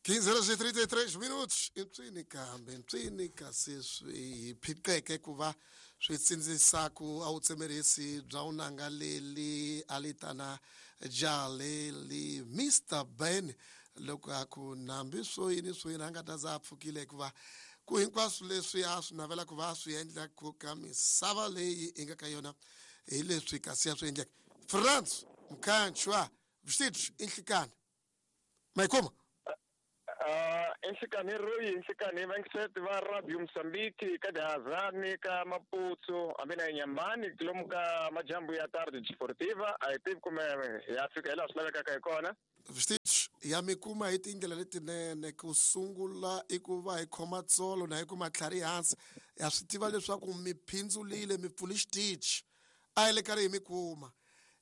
15 horas e 33 minutos. Mpsini kambe mpsini kasi swi hi phiqeke ku va swi tsindzisaku a wu tsemerisi bya unanga leli a litana jaleli Mr Ben loko a ku nambi swo yini swo yini a nga ta za a pfukile hikuva ku hinkwaswo leswi a swi navela ku va a swi endla ku ka misava leyi i nga ka yona hi leswi kasi ya swi endleke France Mkhanchwa vestidos i nhlikani ma yi kuma. Enhlikani Royi enhlikani vayingiseti va Radio Mozambique ka Dihazani ka Maputo hambi na Nyamani lomu ka majambu ya Tarde Desportiva a hi tivi kumbe ya fika hi laha swi lavekaka hi kona. Vestidos ya mi kuma hi tindlela letinene ku sungula i ku va hi khoma tsolo na hi ku matlhari hansi ya swi tiva leswaku mi phindzulile mi pfuli xitichi a hi le karhi hi mi kuma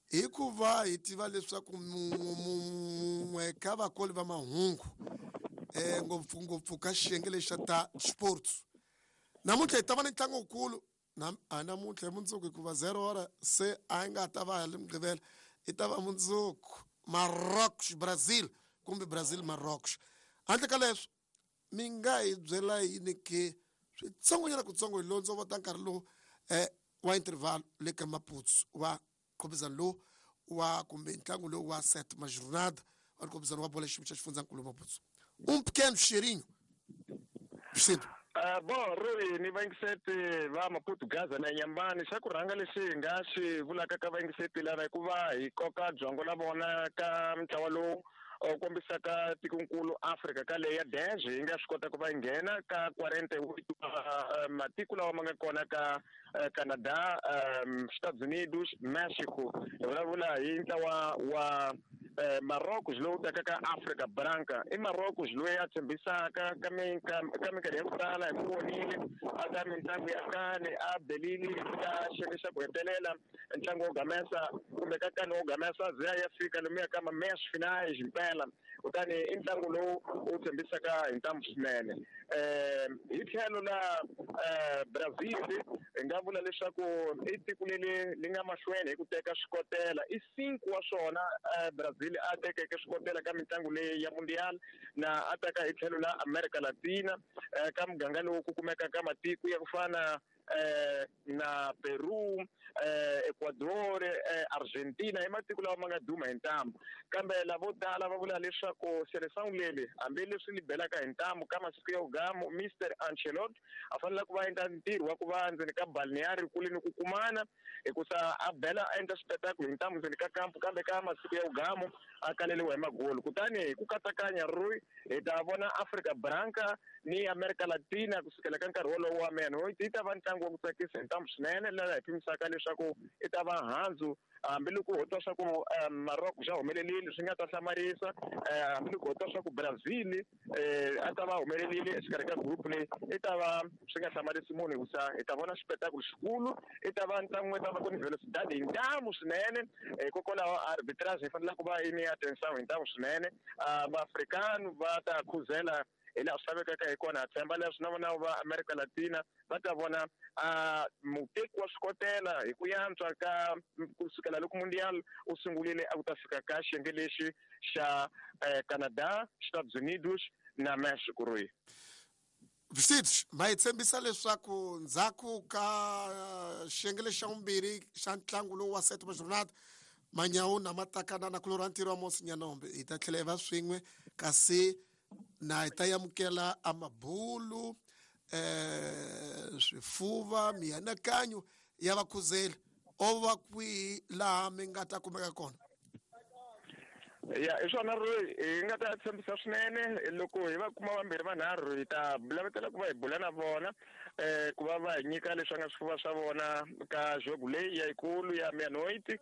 hikuva hi tiva leswaku mun'we ka vakoli va mahungu um ngopfungopfu ka xiyenge lexi xa ta sports namuntlha hi ta va ni ntlangu wukulu a namuntlha hi mundzuku hikuva zero hora se a yi nga ta va hi mugqivela i ta va mundzuku Marrocos Brazil kumbe Brazil Marrocos handle ka leswo mi nga hi byela yini ke switsongonyana kutsongo hi londzo vota nkarhi lowu um wa interval le ka Maputo wa nkhopizano lowu wa kumbe ntlangu lowu wa set majornada wa nkhopizano wa bolo xiyimo xa xifundzankulu Maputo um pequeno cheirinho Vicente. Bon Roy ni vayingiseti va Maputo Gaza na Nyambani xa ku rhanga lexi hi nga xi vulaka ka vayingiseti lava i ku va hi koka byongo la vona ka ntlawa lowu u kombisaka tikonkulu Afrika ka leyi ya dez yi nga swi kota ku va yi nghena ka 48 wa matiko lawa ma nga kona ka Canada, Estados Unidos, Mexico. Hi vulavula hi ntlawa wa Marrocos lowu taka ka Africa Branca. I Marrocos loyi a tshembisaka ka ka minkarhi ya ku tala hi n'wi vonile a ka mitlangu ya kani a belile ka xiyenge xa ku hetelela ntlangu wo gamesa kumbe ka kani wo gamesa ze ya fika lomuya ka ma-meias finais mpela kutani i ntlangu lowu wu tshembisaka hi ntamu swinene um hi tlhelo la Brazil hi nga vula leswaku i tiko leri li nga mahlweni hi ku teka swikotela i cinco wa swona Brazil a tekeke swikotela ka mitlangu leyi ya Mundial na a taka hi tlhelo la America Latina ka muganga lowu ku kumekaka matiko ya ku fana na Peru, Ecuador, Argentina i matiko lawa ma nga duma hi ntamu kambe lavo tala va vula leswaku Seleção leli hambileswi li belaka hi ntamu ka masiku ya vugamu Mister Ancelotti a fanele ku va endla ntirho wa ku va ndzeni ka balneário kule ni ku kumana hikusa a bela a endla xipetakulo hi ntamu ndzeni ka kampu kambe ka masiku ya vugamu a kaleliwa hi magoli kutani hi ku katsakanya Rui hi ta vona Afrika Branca ni Amerika Latina kusukela ka nkarhi wolowo wa meno yi ta va ntlangu wa ku tsakisa hi ntamu swinene laha hi pimisaka leswaku i ta va handzu hambiloko ho twa swa ku Maroc xa humelelile swi nga ta hlamarisa hambiloko ho twa swa ku Brazil a ta va humelelile exikarhi ka group leyi i ta va swi nga hlamarisi munhu hikusa hi ta vona xipetakulo xikulu i ta va ntlangu i ta va ku ni velocidade hi ntamu swinene hikokwalaho arbitrage yi fanele ku va yi ni atenção hi ntamu swinene maafrikano va ta khuzela hi laha swi lavekaka hi kona ha tshemba leswi na vona va America Latina va ta vona muteki wa swikotela hi ku yantswa ka kusukela loko Mundial u sungurile a ku ta fika ka xiyenge lexi xa Canada, Estados Unidos na Mexico Rui. Vsitch ma hi tshembisa leswaku ndzhaku ka xiyenge lexi xa vumbirhi xa ntlangu lowu wa Sétima Jornada Manyawu na Matakana na kulorha ntirho wa Mosi Nyanombe hi ta tlhela hi va swin'we kasi na hi ta amukela amabulu swifuva mianakanyo ya vakhuzeli o va kwihi laha mi nga ta kumeka kona. Ya hi swona ri hi nga ta tshembisa swinene loko hi va kuma vambirhi vanharhu hi ta lavetela ku va hi bula na vona ku va va hi nyika leswi nga swifuva swa vona ka jogo leyi ya yikulu ya meia-noite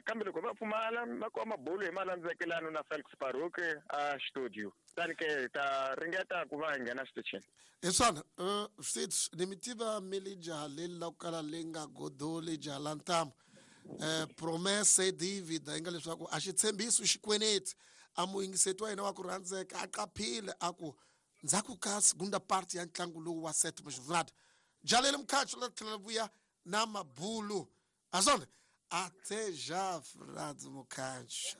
kambe loko va pfumala va kuma mabulu hi malandzekelano na Felix Baruch a studio tani ke hi ta ringeta ku va hi nghena xitichini. Hi swona sweswi ni mi tiva mi li jaha leri la ku kala li nga godoli jaha la ntamu promesse dívida yi nga leswaku a xi tshembisi xikweneti a muyingiseti wa hina wa ku rhandzeka a qaphile a ku ndzhaku ka segunda parte ya ntlangu lowu wa Sétima Jornada jalele mkhatsho la tlhela vuya na mabulu a swona até já Fernando Mukhancho.